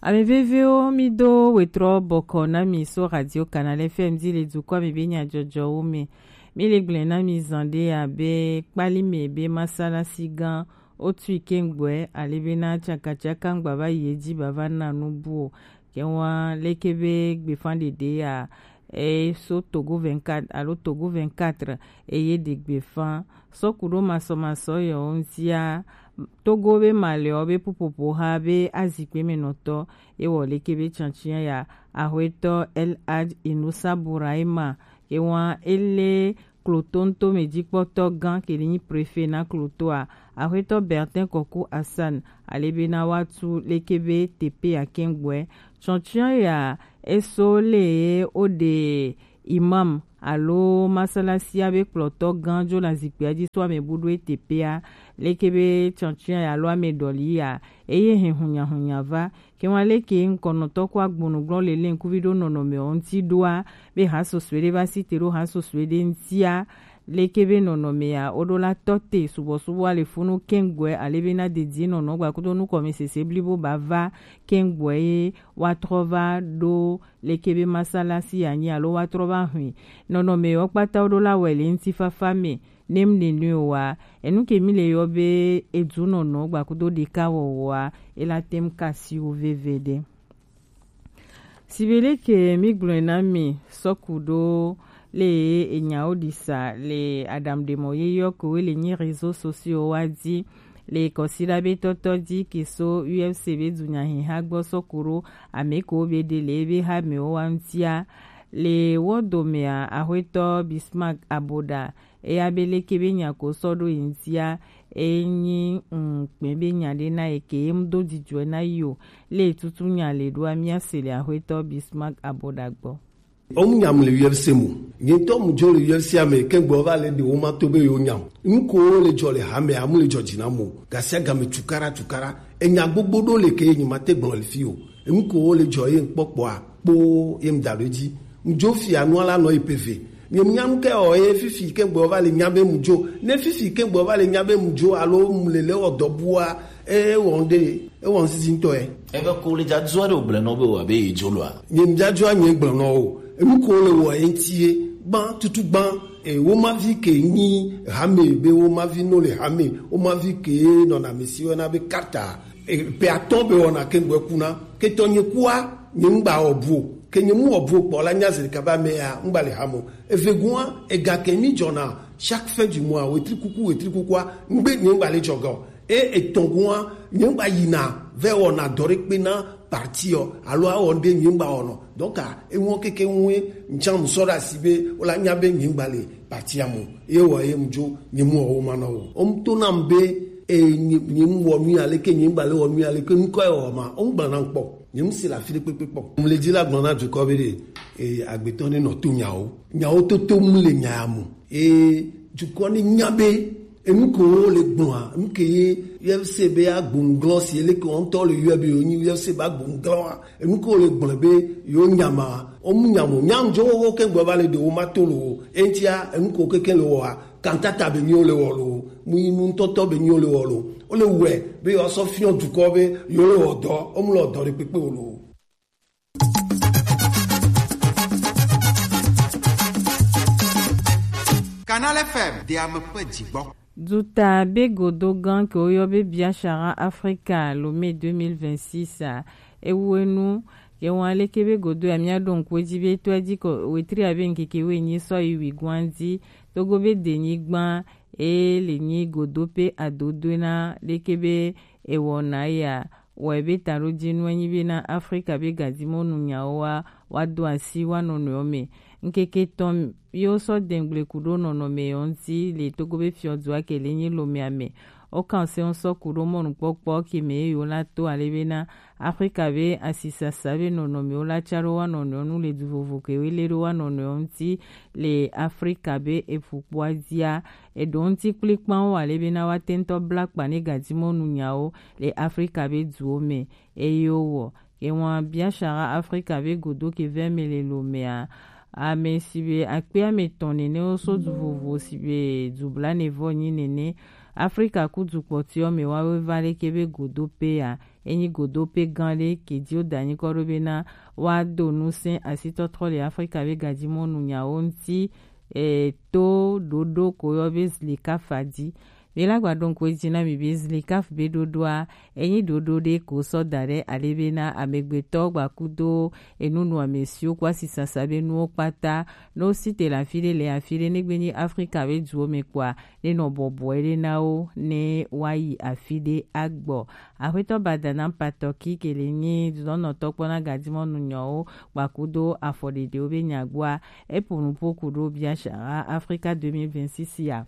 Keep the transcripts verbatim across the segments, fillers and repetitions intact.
Ame veviwo, mi do wetrɔ bɔkɔ na mi so Radio Canal F M di le dukɔ mi be nyajɔjɔwo me. Mi le gblẽ na mi zan ɖe abe kpali me be masalasi gã wotui kɛŋgbɔɛ ale be na cakacaka ŋgba va yi edzi bava na nu bu o. Kɛwa leke be gbefã ɖeɖe ya e so Togo vingt-quatre alo Togo vingt-quatre eye ɖe gbefã sɔku ɖo masɔmasɔ yɔ ŋutia. Togo be malɛɔ be pupopo ha be azikpe me nɔtɔ ewɔ leke be cantia ya ahwetɔ El Hadj Inusa Buraima ke wa ele Kloto ŋutome dzikpɔtɔ gã ke li nyi prefe na Klotoa, ahwetɔ Bertin Kɔku Hassan, ale be na wa tu leke be tepe ya kɛŋgbɔɛ. Tsɔtsiɔ ya eso le ye wo ɖe imam alo masalasia be kplɔtɔ gã dzo le azikpia dzi so ame bu ɖo etepea, leke be tsɔtsiɔ ya alo ame ɖɔli ya eye hɛn hunyahunya va. Ke wa leke ŋkɔnɔtɔ ko agbonu glɔ le le ŋkuvi ɖo nɔnɔme ɔ ŋti ɖoa be ha sosue ɖe va si te ɖo ha sosue ɖe ŋtia. Leke be nɔnɔmea wo ɖo la tɔ te subɔsubɔ ale funu kɛŋgbɔɛ ale be na dedie nɔnɔ gba kudo nukɔme sese blibo ba va kɛŋgbɔɛ ye wa trɔ va ɖo leke be masalasi ya nyi alo wa trɔ va hwi nɔnɔme yɔ kpata wo ɖo la wɛ le ŋti fafa me. Ne mu nenu wa enu ke mi le yɔ be edu nɔnɔ gba kudo ɖeka wɔwɔa ela tem kasi wo veve ɖe. Sibele ke mi gblɔe na mi sɔku ɖo le enyawo ɖisa le aɖaŋuɖemɔ yeyɔ kowe le nyi réseaux sociaux wa dzi le kɔsiɖa be tɔtɔ dzi ke so U F C be dunyahiha gbɔ sɔku ɖo ame ko be ɖe le ebe ha me wo wa ŋtia. Le wɔ domea ahwetɔ Bismarck Aboɖa eya be leke be nya ko sɔ ɖo yi ŋtia enyi ŋkpɛ be nya ɖe na ye ke ye mu do dzidzɔe na yi o. Le tutu nya le ɖoa mia se le ahwetɔ Bismarck Aboɖa gbɔ. Omu nyam le U F C mu. Nyitɔ mu dzo le U F C ame ke gbɔ va le de wo ma to be yo nyam. Nuko le dzɔ le hame amu le dzɔ dzi na mo. Gasia game tukara tukara. Enya gbogbo ɖo le ke nyi ma te gblɔ le fi o. Nuko le dzɔ ye kpɔkpɔa kpo ye mu da ɖo dzi. Mu dzo fia nua la nɔ yi pe ve. Nye mu nyanu ke o ye fifi ke gbɔ va le nya be mu dzo. Ne fifi ke gbɔ va le nya be mu dzo alo mu le le o dɔ bua. E wɔn ɖe, e wɔn sisi ŋutɔ ye. Ebe ko le dzadzua ɖe wògblẽ nɔ be wòabe yedzo loa? Nye dzadzua nye gblẽ nɔ o. Enu ko le wɔ ye ŋuti ye gbã tutu gbã. E, wo mavi ke nyi hame be wo mavi no le hame, wo mavi ke nɔna mesi wɔna be kata. E, pe atɔ be wɔna ke ŋgbɛ kuna. Ke tɔ nye kua, nye ŋgba wɔ bu o. Ke nye mu wɔ bu o kpɔ la nya zeli kaba me ya, ŋgba le hame o. Eve gua, ega ke mi dzɔna chaque fin du mois, wetri kuku, wetri kukua, ŋgbe nye ŋgba le dzɔ ga o. E etɔ̃ gua, nye ŋgba yina vɛ wɔna dɔ ɖe kpe na parti ɔ alo awɔ ŋɖe nye ŋgba wɔnɔ. Donc a eŋɔ keke ŋue ŋtsã mu sɔ ɖe asi be wola nya be nye ŋgba le parti a mu ye wɔ ye mu dzo nye mu wɔ wo ma nɔ wo. Wo mu to nam be e nye nye mu wɔ nu ya leke nye ŋgba le wɔ nu ya leke ŋkɔ ye wɔ ma wo ŋgba na kpɔ nye mu si le afi ɖe kpekpe kpɔ. Mu le dzi la gblɔ na dukɔ be ɖe e agbetɔ ne nɔ to nyawo nyawo toto mu le nya ya mu. Eye dukɔ ne nya be enu ke wo le gblɔa, enu ke ye U F C be agbonglɔ si ele ke wɔntɔ le yɔ be yonyi U F C be agbonglɔa, enu ke wo le gblɔ be yo nyama, o mu nyamo, nyam jo wo ke gbe va le de wo ma to lo, entia enu ke wo keke le wɔa, kantata be nyo le wɔ lo, mu yi nu ŋutɔtɔ be nyo le wɔ lo, o le wɛ be yo sɔ fiɔ dukɔ be yo le wɔ dɔ, o mu le wɔ dɔ ɖe kpekpe o lo. Canal F M, de ame ƒe dzigbɔ. Duta be godo gã ke woyɔ be Biashara Africa Lomé deux mille vingt-six a, ewu enu ke wɔn aleke be godo ya mía ɖo ŋku edzi be to edzi kɔ wetri abe ŋkeke woenyi sɔ yi wi gɔn dzi. Togo be denyigba e le nyi godo pe adodoe na leke be ewɔna ya. Wɔe be taɖodzinue nyi be na Afrika be gadzimɔnu nyawo wa wa do asi wa nɔnɔewo me. Ŋkeke tɔn yewo sɔ dɛngble ku ɖo nɔnɔme yewo ŋuti le Togo be fiɔdua ke le nyi Lomea me. Wo kan se ŋu sɔ ku ɖo mɔnukpɔkpɔ ke me yewo la to ale be na Afrika be asisasa be nɔnɔmewo la ca ɖo wa nɔnɔewo nu le du vovo ke wo le ɖo wa nɔnɔewo ŋuti le Afrika be eƒukpoa dzia. Eɖo ŋuti kplikpawo ale be na wa te ŋutɔ bla kpa ne gadzimɔnu nyawo le Afrika be duwo me. Eye wowɔ. Ke ŋua Biashara Afrika be godo ke vɛ me le Lomea. Ame si be akpe ame tɔn nene wo so du vovo si be du blanevɔ nyi nene. Afrika ku du kpɔtɔewo me wa wo va leke be godo pea. Enyi godo pe gan ɖe kedi wo da nyikɔ ɖo be na wa do nusɛn asitɔtrɔ le Afrika be gajimɔnu nyawo ŋuti, e, to ɖoɖo ko yɔ be Zlikafa di. Mi la gba ɖo ŋku edzi na mi be Zlikaf be ɖoɖoa, enyi ɖoɖo ɖe ko sɔ da ɖe ale be na amegbetɔ gbakudo enunu amesiwo kpo asisasa be nuwo kpata, no si te le afi ɖe le afi ɖe, negbe nyi Afrika be duwo me kpoa, ne nɔ bɔbɔe ɖe na wo ne wa yi afi ɖe agbɔ. Aƒetɔ Badana Patɔki ke le nyi dudɔnɔtɔ kpɔ na gajimɔnu nyɔwo gbakudo afɔɖeɖewo be nyagboa, epo nuƒo ku ɖo bia shara Afrika deux mille vingt-six ya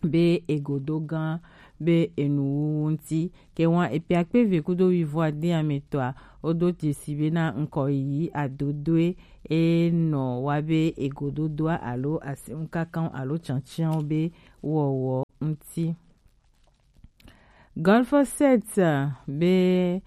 be egodo gã be enuwuwu ŋuti. Ke wan epe akpe eve kudo wuivo ade ametɔa, wodo dzesi be na ŋkɔ yiyi adodoe e nɔ wa be egododoa alo aseŋkakanwo alo cancanwo be wɔwɔ ŋuti. Golf set be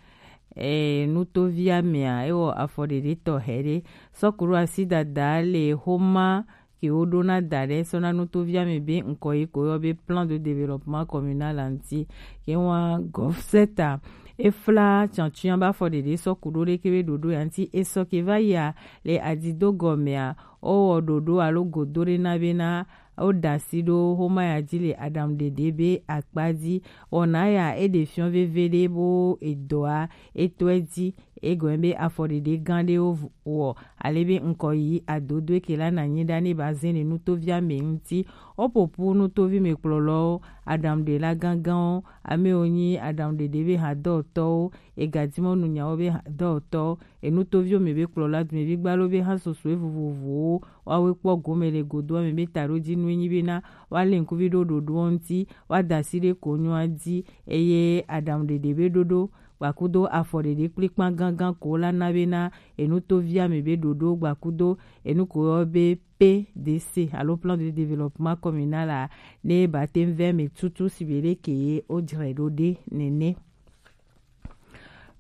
e, nutovia mea, ewɔ afɔɖeɖe tɔxɛ ɖe sɔku ɖo asi dada le xoma ke woɖo na da ɖe sɔ na nutovia me be ŋkɔ yi ko yɔ be plan de développement communal ŋuti. Ke wa Golf set a, efla cancuia be afɔɖeɖe sɔku ɖo ɖe ke be ɖoɖo ya ŋuti esɔ ke va yia le adido gɔmea, wowɔ ɖoɖo alo godo ɖe na be na woɖe asi ɖo xoma ya dzi le aɖaŋuɖeɖe be akpa dzi. Wɔna ya eɖe fiɔ veve ɖe bo edɔa etɔe dzi. Egɔme be afɔɖeɖe gã ɖewo wɔ ale be ŋkɔ yi adodoe ke la na nyi ɖa ne ba zɛn le nutovia me ŋuti. Woƒoƒu nutovi me kplɔlɔwo, aɖaŋuɖela gãgãwo, amewo nyi aɖaŋuɖeɖe be hadɔtɔwo, egajimɔnu nyawo be hadɔtɔwo, enutoviwo me be kplɔla, dumevi gbalo be ha sosoe vovovowo, woawoe kpɔ gome le godoa me be taɖodzinue nyi be na woalé ŋkuvi ɖo ɖoɖoa ŋuti, woada asi ɖe konyoa dzi, eye aɖaŋuɖeɖe be ɖoɖo gbakudo afɔɖeɖe kplikpan gãgã ko la na be na enutovia me be ɖoɖo gbakudo enu ko yɔ be P D C alo plan de développement communal a, ne ba te ŋ vɛ me tutu si be ɖe ke ye wo dzrae ɖo ɖe nene.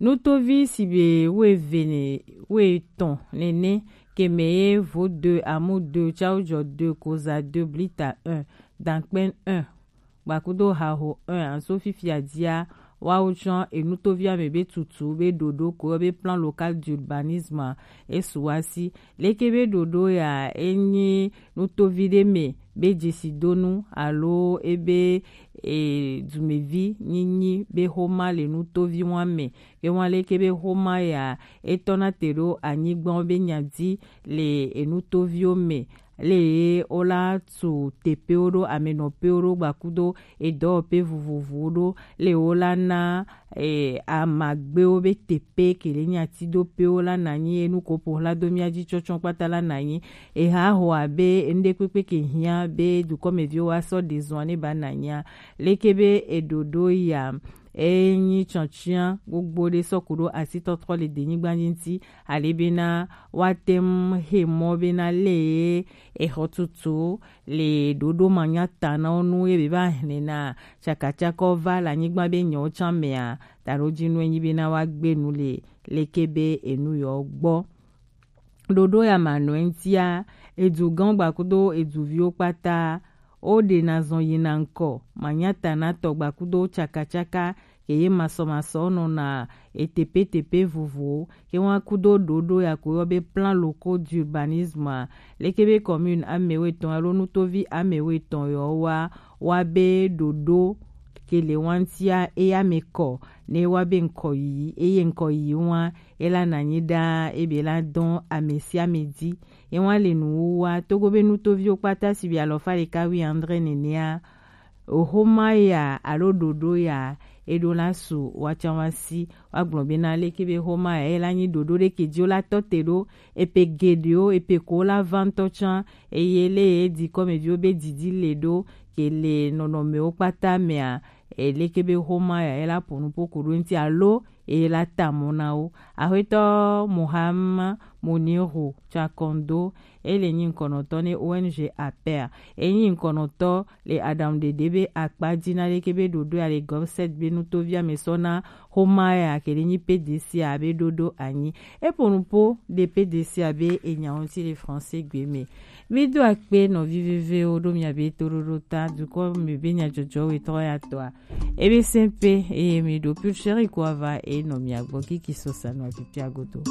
Nutovi si be wuieve ne, wuietɔ̃ nene, ke me ye vo deux, amu deux, tsawo jɔ deux, koza deux, blita un, dankpɛn un, gbakudo haho un, anso fifia dzia, woawo tsɔ enutovia me be tutu be ɖoɖo ko yɔ be plan local d'urbanisme a, esu wa si. Leke be ɖoɖo ya enyi nutovi ɖe me be dzesidonu alo ebe e, dumevi nyinyi be xoma le nutovi wa me. Ke wa leke be xoma ya etɔna te ɖo anyigba wo be nya dzi le enutoviwo me. Le ye wola tu teƒewo ɖo, amenɔƒewo ɖo, gbakudo edɔwɔƒe vovovowo ɖo, le wola na e, amagbewo be teƒe ke le nyati do pewo la na nyi, enu ko ƒo hla do mía dzi tsɔtsɔ kpata la na nyi. Eha ho abe enu ɖe kpekpe ke hiã be dukɔmeviwo wa sɔ ɖe zɔa ne ba na nyia. Leke be eɖoɖo ya enyi tsɔtsiã gbogbo ɖe sɔ ku ɖo asitɔtrɔ le denyigba dzi ŋuti, ale bena woate ŋu he mɔ bena le exɔtutu le ɖoɖo manyatanawo nu ye be va hlɛna tsakatsakawo va le anyigba be nyawo tsã mea, taɖodzinue nyi bena woagbe nu le leke be enu yewo gbɔ. Ɖoɖo ya manɔe ŋutia, edugãwo gbakudo eduviwo kpata, woɖena zɔn yina ŋkɔ manyatanatɔ gbakudo tsakatsaka ke ye masɔmasɔ nɔna etepetepe vovowo, ke wa kudo ɖoɖo ya ko yɔ be plan locaux d'urbanisme a, leke be commune amewetɔn alo nutovi amewetɔn yɔ wa, wa be ɖoɖo ke le wa ŋutia eya me kɔ, ne wa be ŋkɔ yiyi, eye ŋkɔ yiyi wa ela na nyi ɖaa ebe la dɔn ame sia ame dzi. Ye wa le nuwuwua, togo be nutoviwo kpata si be alɔfa ɖeka wi andre nenea, oxoma ya alo ɖoɖo ya eɖo la su watsã wa si. Woagblɔ bena leke be xoma ya ela nyi ɖoɖo ɖe ke dzi wo la tɔ te ɖo, epe geɖewo, epe ko la va ŋutɔ tsã, eye le ye dikɔmeviwo be didi le ɖo ke le nɔnɔmewo kpata mea, e, leke be xoma ya ela ƒo nuƒo ku ɖo ŋuti alo eye la ta mɔ na wo. Axwetɔ Muhama Moniru Chakondo, ele nyi ŋkɔnɔtɔ ne O N G Aper. Enyi ŋkɔnɔtɔ le aɖaŋuɖeɖe be akpa dzi na leke be ɖoɖo ya le Gobset be nutovi ame sɔ na xoma ya ke le nyi P D C a be ɖoɖo anyi. Eƒo nuƒo ɖe P D C a be enya ŋuti le français gbe me. Mi do akpe nɔvi vevewo ɖo mia be toɖoɖo ta dukɔ me be nyadzɔdzɔ wetɔ ya tɔa. Ebe sɛnpe eye mi ɖo pulcheri ko ava e nɔ mia gbɔ kiki sɔ sa nɔ apipia godo.